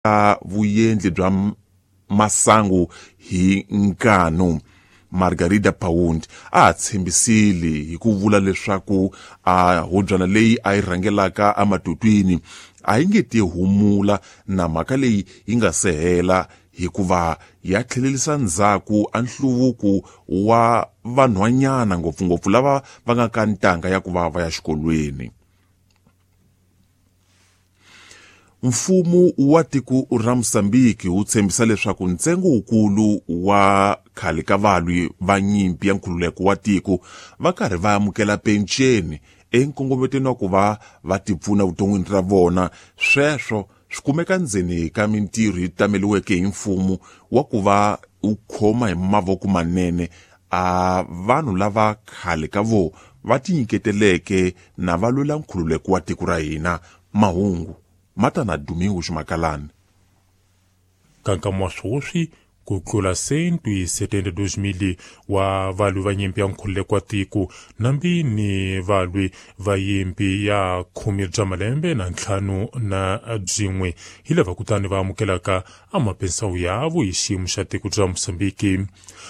Vuyendli bya masangu hi nkanu. Margarida Pound a tshembisile hi ku vula leswaku a hubyana leyi a yi rhangelaka ematutwini a yi nge ti humula na mhaka leyi yi nga se hela, hikuva ya tlhelerisa ndzhaku a nhluvuko wa vanhwanyana, ngopfungopfu lava va nga ka ntanga ya ku va va ya xikolweni. Mfumo wa tiko ra Mosambiki wu tshembisa leswaku ntsengo wukulu wa khale ka valwi va nyimpi ya nkhululeko wa tiko va karhi va amukela penceni enkongometweni wa ku va va tipfuna vuton'wini ra vona. Sweswo swi kumeka ndzeni ka mintirho yi tameliweke hi mfumo wa ku va wu khoma hi mavoko manene a vanhu lava khale ka vo va tinyiketeleke na va lwela nkhululeko wa tiko ra hina. Mahungu ma ta na Domingo Ximakalani. Ka nkama wa swoswi, ku tlula 172 000 wa valwi va nyimpi ya nkhululeko wa tiko nambi ni valwi va yimpi ya khume bya malembe na ntlhanu na byin'we hi lava kutani va amukelaka amapensawu yavo hi xiyimo xa tiko bya Mosambiki.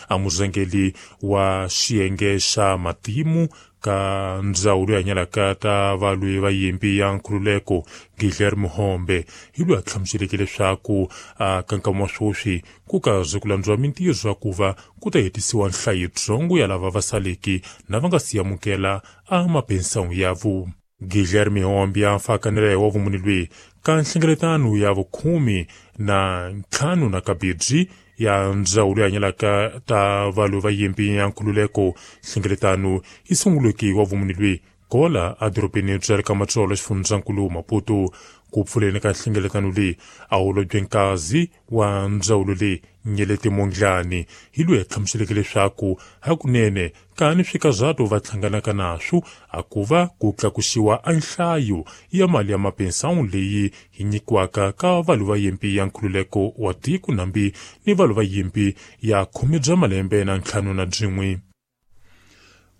A murhangeli wa xiyenge xa matimu ka ndzawulo ya nyalaka ta valwi va yimpi ya nkhululeko, Guilherme Hombe, hi loyi a hlamuseleke leswaku a ka nkama wa swoswi ku karhi ku landziwa mintirho ya ku va ku ta hetisiwa nhlayo yitsongo ya lava va saleki na va nga si amukela a mapensawu yavo. Guilherme Hombe a fakanela hi wa vumuni lweyi ka nhlengeletano ya vukhume na ntlhanu na kabirhi ya ndzawulo ya nyalaka ta valwi va yimpi ya nkhululeko. Nhlengeletano yi sunguleke wa vumuni lweyi kola edorobeni bya le ka Matsolo, xifundzankulu Maputo. Ku pfuleni ka nhlengeletano leyi, a holobye nkazi wa ndzawulo leyi, Nyeleti Mondlane, hi loyi a hlamuseleke leswaku hakunene kani swikazato va hlanganaka naswo a ku va ku tlakusiwa a nhlayo ya mali ya mapensawu leyi yi nyikiwaka ka valwi va yimpi ya nkhululeko wa tiko nambi ni valwi va yimpi ya khume bya malembe na ntlhanu na byin'we.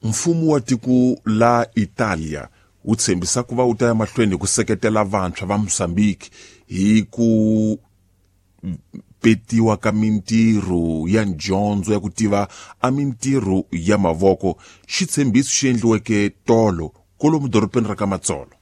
Mfumo wa tiko la Italia wu tshembisa ku va wu ta ya mahlweni hi ku seketela vantshwa va Mozambique hi ku petiwa ka mintirho ya ndyondzo ya ku tiva a mintirho ya mavoko. Xitshembiso xi endliweke tolo kolomu dorobeni ra ka Matsolo.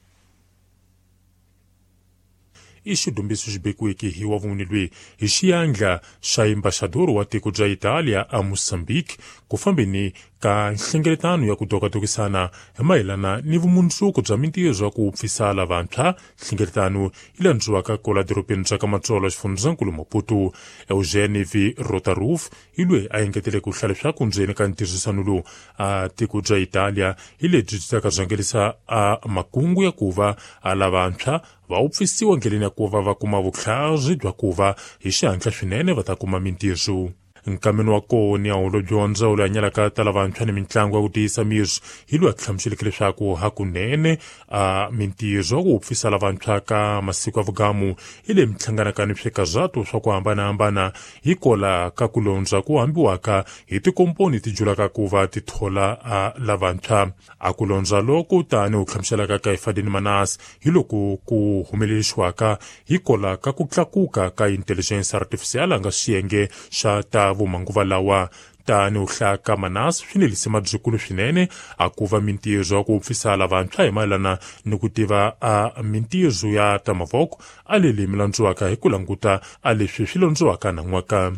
I xidumbiso xi bekiweke hi wa vumuni lweyi hi xiyandla xa embaxador wa tiko bya Italia a Mozambique ku fambeni ka nhlengeletano ya ku dokadokisana hi mayelana ni vumundzuku bya mintirho ya ku pfisa lavantshwa. Nhlengeletano yi landziwaka kola dorobeni bya ka Matsolo, xifundzankulu Maputo. Eugene V Rotaroof hi loyi a engetele ku hlaya leswaku ndzeni ka ntirhisano lowu a tiko bya Italia hi lebyi byi taka rhangelisa a makungu ya ku va a lavantshwa va wupfisiwa ndleleni ya ku va va kuma vutlhari bya ku va hi xihatla swinene va ta kuma mintirho. Nkameni wa kona, holobye wa ndzawulo ya nyalaka ta lavantshwa ni mitlangu ya ku tiyisa miri hi loyi a hlamuseleke leswaku hakunene a mintirho ya ku wupfisa lavantshwa ka masiku ya vugamu hi leyi mi hlanganaka ni swikazato swa ku hambanahambana hi kola ka ku londza ku hambiwaka hi tikomponi ti julaka ku va ti thola a lavantshwa. A ku londza loko tani u hlamuselaka ka Ifadini Manas hi loko ku humelerisiwaka hi kola ka ku tlakuka ka intelligence artificial a nga xiyenge xa ta vumanguva lawa. Tani u hlaya Manas swi nelise mabyikulu swinene a ku va mintirho ya ku pfisa lavantshwa hi mayelana ni ku tiva a mintirho ya ta mavoko a leli mi landziwaka hi ku languta a leswi swi londziwaka nan'waka.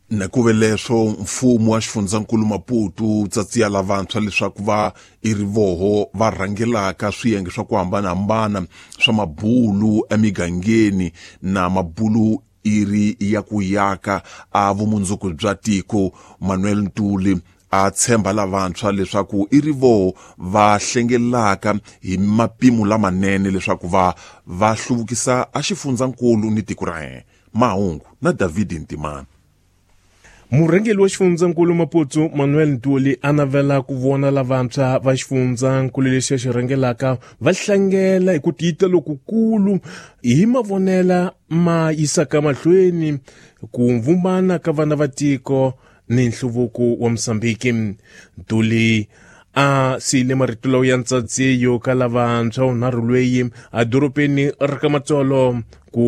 Na ku ve leswo, mfumo wa xifundzankulu Maputo wu tsatsiya lavantshwa leswaku va i rivoho va rhangelaka swiyenge swa ku hambanahambana swa mabulu emigangeni na mabulu i ri ya ku yaka a vumundzuku bya tiko. Manuel Ntuli a tshemba lavantshwa leswaku i rivoho va hlengelaka hi mapimo lamanene leswaku va va hluvukisa a xifundzankulu ni tiko ra yena. Mahungu na David Ntimana. Murhangeri wa xifundzankulu Maputo, Manuel Ntuli, a navela ku vona lavantshwa va xifundzankulu lexi a xi rhangelaka va hlangela hi ku tiyita lokukulu hi mavonela ma yisaka mahlweni ku vumbana ka vana va tiko ni nhluvuko wa Mosambiki. Ntuli A siyile marito lawo ya ntsadziyo ka lavantshwa unharhu lweyi a dorobeni ri ka Matsolo ku.